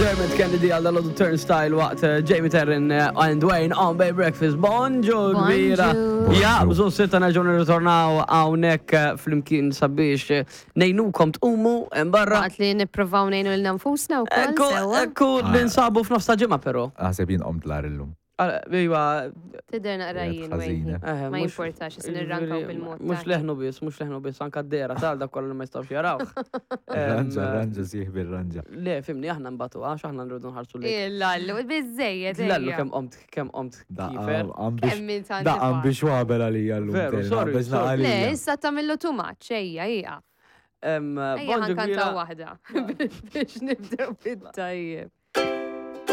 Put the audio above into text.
Dermot Kennedy għal dal Turnstile waqt eh, Jamie Terrin eh, and Wayne on Bay Breakfast. Bonġu kbira. Ja, bżon sitta nerġgħu nirritornaw hawnhekk eh, flimkien sabiex ngħinukom tqumu hemm barra. Waqt li nippruvaw ngħinu lil nfusna wkoll. Ekku, ekku, ninsabu f'nofs ta' ġimgħa però. Naħseb jien qomt l illum. Iva. Tidher naqra jien Ħażina. Eh, Ma jimportax, se nirrankaw bil-mod. Mhux leħnu biss, mhux leħnu biss, anka d-dera tal dak kollu li ma jistgħux jaraw. Ranġa, ranġa, sieħbi ranġa. Le, fimni, aħna nbatu, għax aħna nridu nħarsu li. Illallu, biżejjed. Lallu kemm qomt, kemm qomt kifer. Kemm int Daqqa biex wabel għalija llum. Veru, sorry, sorry. Le, issa tagħmillu too much, ejja, ieqaf. Ejja, ħankantaw waħda. Biex nibdew bit-tajjeb.